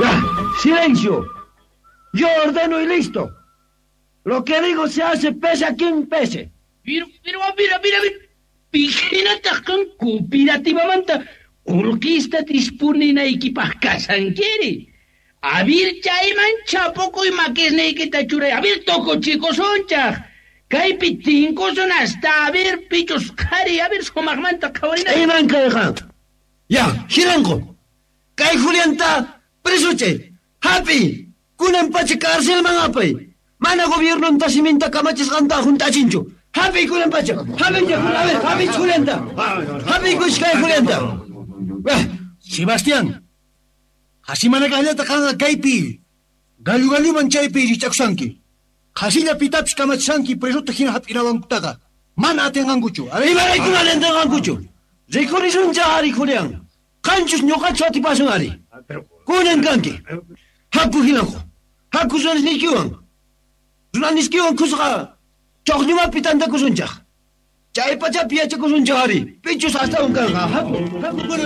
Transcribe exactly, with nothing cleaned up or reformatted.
Ya, silencio. Yo ordeno y listo. Lo que digo se hace pese a quien pese. Pero, pero, a ver, a ver, a ver. Pihinataq kan cooperativamanta qullqista dispuninaykipaq kasankiri. A ver, chayman chapukuy makisniykita churay. A ver, tukuchikusunchaq. Kaypi tinkusun hasta a ver, pichus qhari, a ver, sumaqmanta qhawarina. Iman kayqa. Ya, Jilanqo. Kay Julianta presuchay. Hapi. Kunan pacha cárcelman apay. Mana gobiernonta siminta kamachisqanta hunt'achinchu. Hapi kunan pacha. Hapi, a ver, hapi Julianta. Hapi kay Julianta. Sebastián. Hasimanakallata qanqa kaypi. Gallu galluman chaypi rich'akusanki. Qhasilla pitapis kamachishanki presota hina hap'inawankutaqa. Mana atinqankuchu. A ver, Imarayku mana atinqankuchu. Rikurisuncha ari Julián. Qanchus ñuqachu atipasun ari. Kunan kanki. Haku Jilanqo. Haku runasniykiwan. Runasniykiwan kusqa ch'uqñumapi tantakusunchaq. Chay pachapi yachakusunchaq ari. Pichus astawan kanqa. Haku, haku kunan.